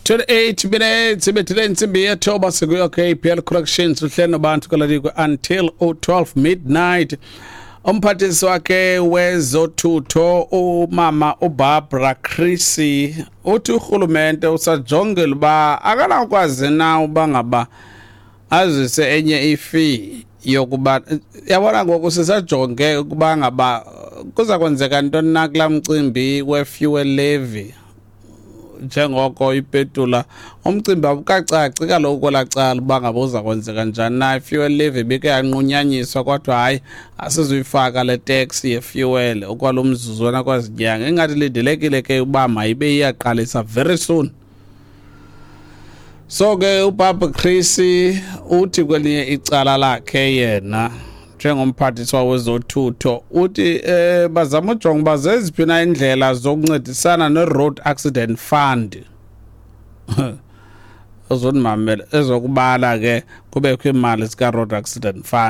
28 minutes ibethile intsimbi yethoba, sikuyo KPL Corrections, uhlelo nobantu kalalikwe until 12 midnight. Umphathiswa wakhe wezothutho, umama uBarbara Creecy, uthi urhulumente usajongela uba akanakwazi na uba ngaba azise enye ifee yokuba, yabona, ngoku sisajonge ukuba ngaba kuza kwenzeka ntoni na kulaa mcimbi we-fuel levy, njengoko ipetula umcimbi awukacaci kaloku kwelaa cala uba ngaba uza kwenzeka njani na. I-fuel levy ibike yanqunyanyiswa, kodwa hayi, asizuyifaka le tax ye-fuel okwalo mzuzwana kwazinyanga. Ingathi lindelekile ke uba mayibe iyaqalisa very soon. So ke uBarbara Creecy uthi kwelinye icala lakhe yena njengomphathiswa wezothutho uthi bazama ujonga uba zeziphi na indlela zokuncedisana ne-Road Accident Fund ezonimamela ezokubala ke kubekho iimali zika-Road Accident Fund.